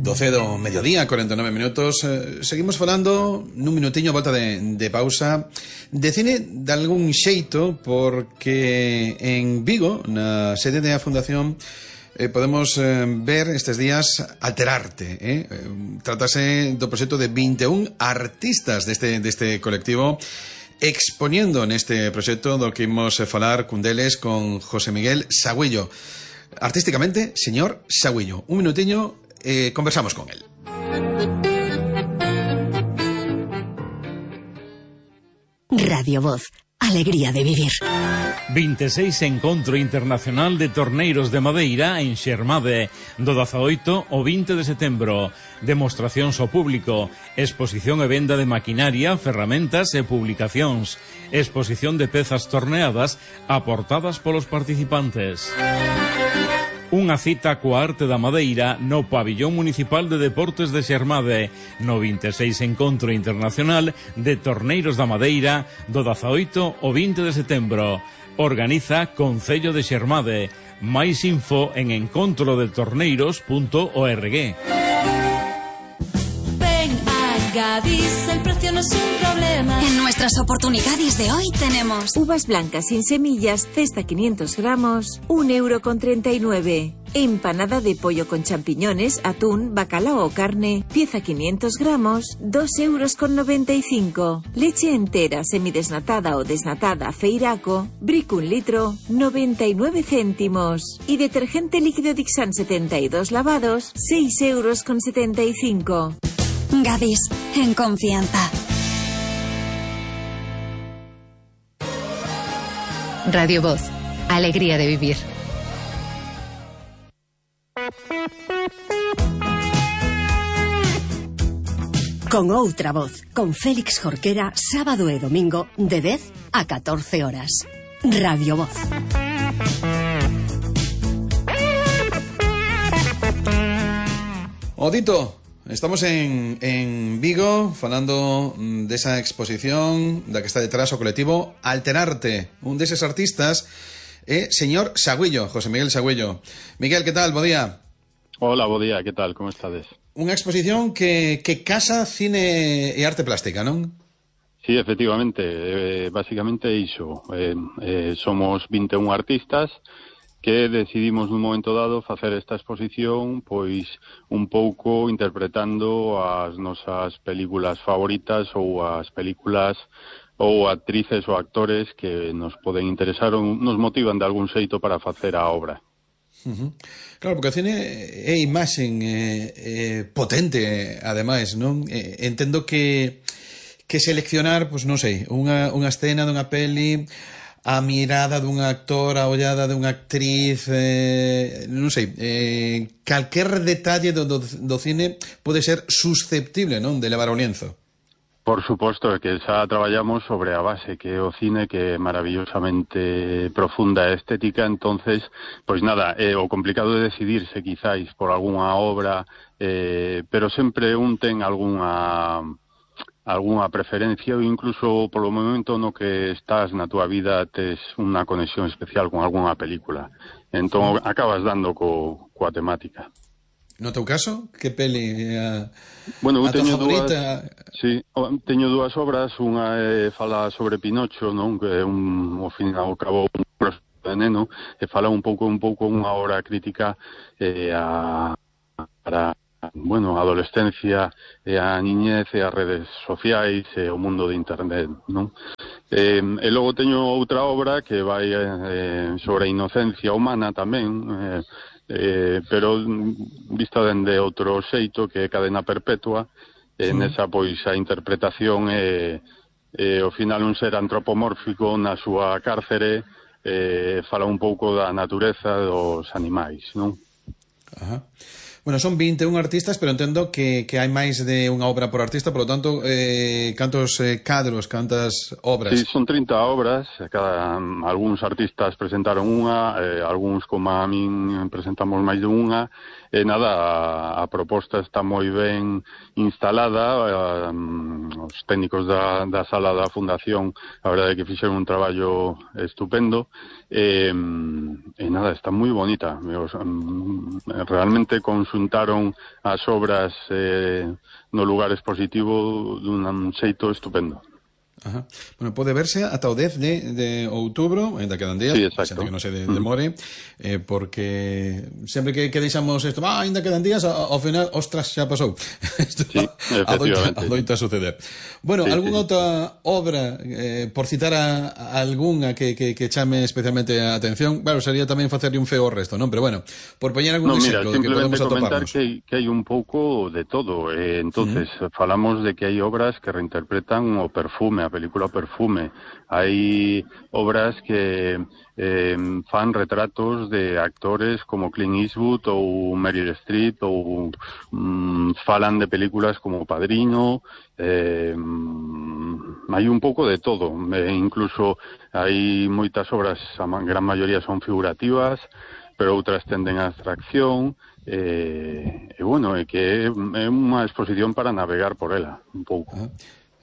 12 do mediodía, 49 minutos. Seguimos falando nun minutiño a volta de pausa de cine de algún xeito, porque en Vigo, na sede da Fundación, podemos ver estes días Alterarte. Trátase do proxecto de 21 artistas deste colectivo expoñendo neste proxecto do que imos falar cun deles, con José Miguel Sagüello. Artísticamente, señor Sagüello. Un minutiño, conversamos con él. Radio Voz, alegría de vivir. 26 Encontro Internacional de Torneiros de Madeira en Xermade, do 18 ao 20 de setembro. Demostracións ao público, exposición e venda de maquinaria, ferramentas e publicacións, exposición de pezas torneadas aportadas polos participantes. Unha cita coa arte da madeira no Pabillón Municipal de Deportes de Xermade, no 26 Encontro Internacional de Torneiros da Madeira, do 18 ao 20 de setembro. Organiza Concello de Xermade. Máis info en encontrodetorneiros.org. Gadis, el precio no es un problema. En nuestras oportunidades de hoy tenemos uvas blancas sin semillas, cesta 500 gramos, 1,39 €. Empanada de pollo con champiñones, atún, bacalao o carne, pieza 500 gramos, 2,95 €. Leche entera, semidesnatada o desnatada, Feiraco, Brick 1 litro, 99 céntimos. Y detergente líquido Dixan 72 lavados, 6,75 €. Gadis, en confianza. Radio Voz, alegría de vivir. Con outra voz, con Félix Jorquera, sábado e domingo, de 10 a 14 horas. Radio Voz. Odito, estamos en Vigo falando desa exposición da que está detrás o colectivo Alterarte. Un deses artistas é señor Sagüello, José Miguel Sagüello. Miguel, que tal? Bo día. Hola, bo día, que tal? Como estades? Unha exposición que casa cine e arte plástica, non? Sí, efectivamente, basicamente iso. Somos 21 artistas que decidimos nun momento dado facer esta exposición, pois un pouco interpretando as nosas películas favoritas ou as películas ou actrices ou actores que nos poden interesar ou nos motivan de algún xeito para facer a obra. Claro, porque o cine é imaxen potente, ademais, non? Entendo que seleccionar, pois non sei, unha escena dunha peli, a mirada dun actor, a ollada dunha actriz, non sei, calquer detalle do cine pode ser susceptible, non, de levar ao lienzo. Por suposto, que xa traballamos sobre a base que é o cine, que é maravillosamente profunda e estética. Entonces, pois nada, o complicado de decidirse quizáis por algunha obra, pero sempre un ten algunha preferencia, ou incluso polo momento no que estás na túa vida tes unha conexión especial con algunha película. Entón acabas dando coa temática. No teu caso, que peli a tua favorita? Teño dúas obras, unha fala sobre Pinocho, non, que é ao fin e ao cabo un proxecto de neno, e fala un pouco unha obra crítica para a adolescencia e a niñez e as redes sociais e o mundo de internet, non? E logo teño outra obra que vai sobre a inocencia humana tamén, pero vista dende outro xeito, que é Cadena Perpetua. Nesa, pois, a interpretación é ao final un ser antropomórfico na súa cárcere, fala un pouco da natureza dos animais, non? Ajá. Bueno, son 21 artistas, pero entendo que hai máis de unha obra por artista, por lo tanto, cantos cadros, cantas obras? Sí, son 30 obras, algúns artistas presentaron unha, algúns, como a min, presentamos máis de unha, e nada, a proposta está moi ben instalada, os técnicos da sala da Fundación, a verdade é que fixeron un traballo estupendo, nada, está moi bonita. Realmente consultaron as obras no lugar expositivo dun xeito estupendo. Ajá. Bueno, pode verse ata o 10 de outubro, ainda quedan días, sí, exacto, que non se demore, porque sempre que deixamos isto, ainda quedan días, ao final, ostras, xa pasou. Isto sí, efectivamente. Adoita suceder. Bueno, sí, algunha outra obra, por citar a algunha que chame especialmente a atención, claro, sería tamén facerle un feo ao resto, non? Pero bueno, por poñer algún exemplo de que podemos atoparnos. Que hai un pouco de todo, entonces falamos de que hai obras que reinterpretan o perfume, a película Perfume. Hai obras que fan retratos de actores como Clint Eastwood ou Meryl Streep, ou falan de películas como Padrino. Hai un pouco de todo, incluso hai moitas obras, a gran maioría son figurativas, pero outras tenden a abstracción, bueno, é que é unha exposición para navegar por ela un pouco.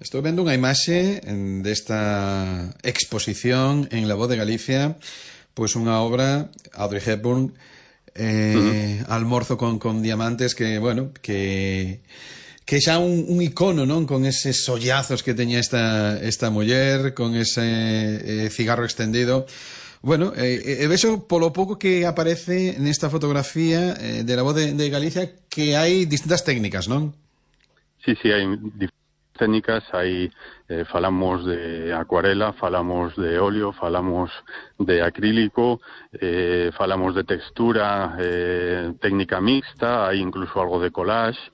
Estou vendo unha imaxe desta exposición en La Voz de Galicia, pois unha obra, Audrey Hepburn, Almorzo con diamantes, que, bueno, que xa un icono, non? Con eses sollazos que teña esta muller, con ese cigarro extendido. Bueno, vexo polo pouco que aparece nesta fotografía de La Voz de Galicia que hai distintas técnicas, non? Sí, hai técnicas, aí falamos de acuarela, falamos de óleo, falamos de acrílico, falamos de textura, técnica mixta, hai incluso algo de collage,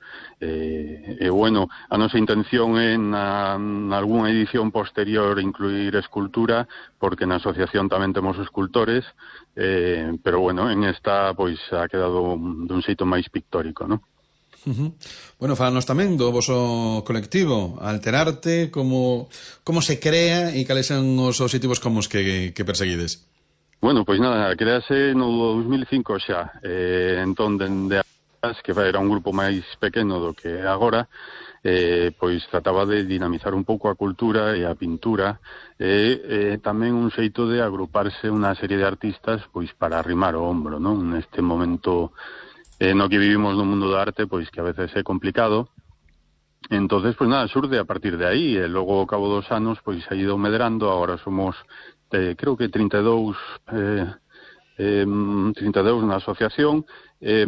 bueno, a nosa intención é na algunha edición posterior incluir escultura, porque na asociación tamén temos escultores, pero bueno, en esta pois ha quedado dun xeito máis pictórico, non? Bueno, falanos tamén do voso colectivo Alterarte, como se crea e cales son os obxectivos comuns que perseguides. Bueno, pois nada, crease no 2005 xa, entón dende que era un grupo máis pequeno do que agora, pois trataba de dinamizar un pouco a cultura e a pintura, e tamén un xeito de agruparse unha serie de artistas pois para arrimar o hombro, non? Neste momento no que vivimos no mundo da arte, pois que a veces é complicado. Entonces, pois nada, xurde a partir de aí, e logo ao cabo dos anos, pois ha ido medrando, agora somos, creo que 32 na asociación, e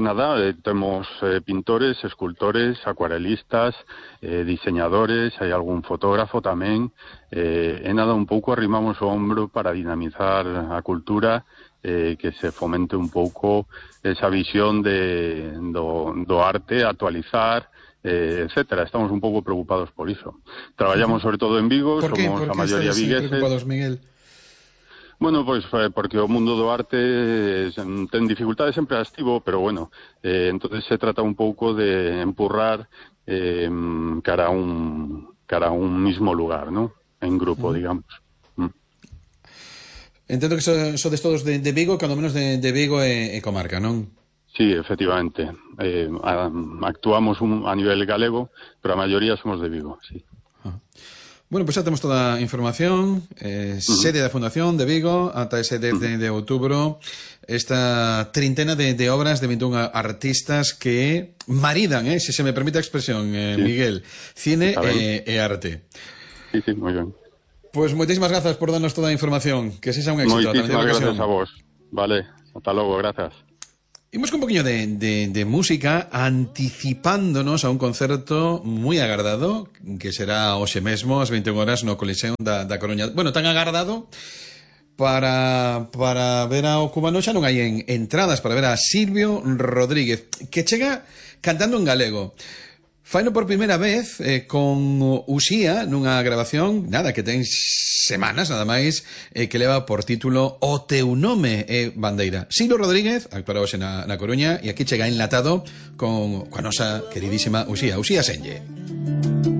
nada, temos pintores, escultores, acuarelistas, diseñadores, hai algún fotógrafo tamén, e nada, un pouco arrimamos o hombro para dinamizar a cultura, que se fomente un pouco esa visión do arte, actualizar, etcétera. Estamos un pouco preocupados por iso. Traballamos sobre todo en Vigo, somos a maioría vigueses. ¿Por qué preocupados, Miguel? Bueno, pois porque o mundo do arte ten dificultades sempre activo, pero bueno, entonces se trata un pouco de empurrar cara a un mismo lugar, ¿no? En grupo, digamos. Entendo que sodes todos de Vigo, cando menos de Vigo e comarca, non? Sí, efectivamente. Actuamos a nivel galego, pero a maioría somos de Vigo, sí. Bueno, pois xa temos toda a información, sede da Fundación de Vigo, ata ese 10 de outubro, esta trintena de obras de 21 artistas que maridan, se se me permite a expresión, Miguel, cine e arte. Sí, moi ben. Pois moitísimas grazas por darnos toda a información, que sexa un éxito. Moitísimas grazas a vos. Vale, ata logo, grazas. Imos con un poquinho de música, anticipándonos a un concerto moi agardado, que será hoxe mesmo, ás 21 horas, no Coliseo da Coruña. Bueno, tan agardado para ver ao cubano, xa non hai entradas para ver a Silvio Rodríguez, que chega cantando en galego. Faino por primeira vez con Uxía nunha grabación, nada, que ten semanas, nada máis, que leva por título O teu nome é bandeira. Silvio Rodríguez actuará hoxe na Coruña e aquí chega enlatado con a nosa queridísima Uxía Senlle.